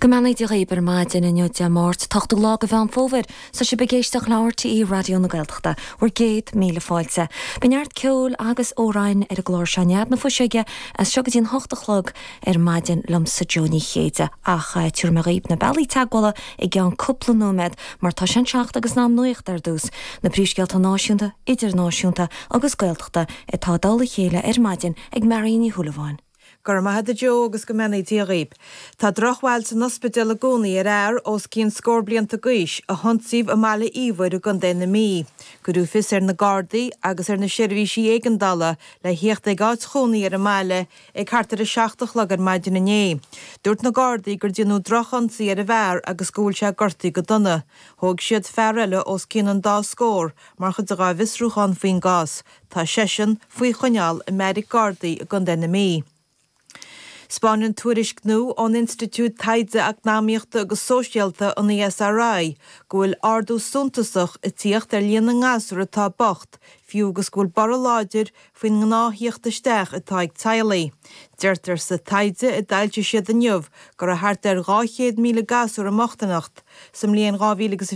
Go mbeannaí Dia dhaoib ar maidin inniu Dé Máirt, 8ú lá de Mheán Fómhair. Tá sibh ag éisteacht le RTÉ Raidió na Gaeltachta. Bhur gcéad míle fáilte. Beidh neart ceoil agus amhráin ar an gclár seo Nead na Fuiseoige as seo go dtí an hocht a chlog ar maidin liomsa Jó Ní Chéide. Ach tabharfaidh mé dhaoib na bealaí teagmhála i gceann cúpla nóiméad mar tá sé an seacht agus in am nuachta ar dtús. Na príomhscéalta náisiúnta, idirnáisiúnta agus Gaeltachta atá i dtoll a chéile ar maidin ag Marion Ní Shúilleabháin. Go raibh maith agat a Joe agus go mbeannaí Dia dhaoib. Tá drochbhail san ospidéal i gcónaí ar fhear os cionn scór blianta d'aois a hionsaíodh i mBaile Íomhair i gContae na Mí. Cuireadh fios ar na Gardaí agus ar na seirbhísí éigeandála le thíocht ag áit chónaí ar an mbaile ag thart ar a 7 a chlog ar maidin inné. Dúirt na Gardaí gur déanadh drochionsaí ar an bhfear agus go bhfuil sé gortaithe go dona. Thóg siad fear eile os cionn an dá scór mar chuid dá bhfiosrúchán faoin gcás. Tá seisean faoi choinneáil i mbeairic Gardaí i gContae na Mí. 'Spáineann tuairisc nua ón Institiúid Taighde Eacnamaíochta agus Sóisialta, an ESRI, go bhfuil ardú suntasach ag tíocht ar líon na ngasúr atá bocht, fiú agus go bhfuil borradh láidir faoin ngnáth-thíocht isteach atá ag teaghlaigh. Deirtear sa taighde a d'fhoilsigh siad inniu go raibh thart ar 200,000 gasúr i mbochtaineacht sa mbliain 2000.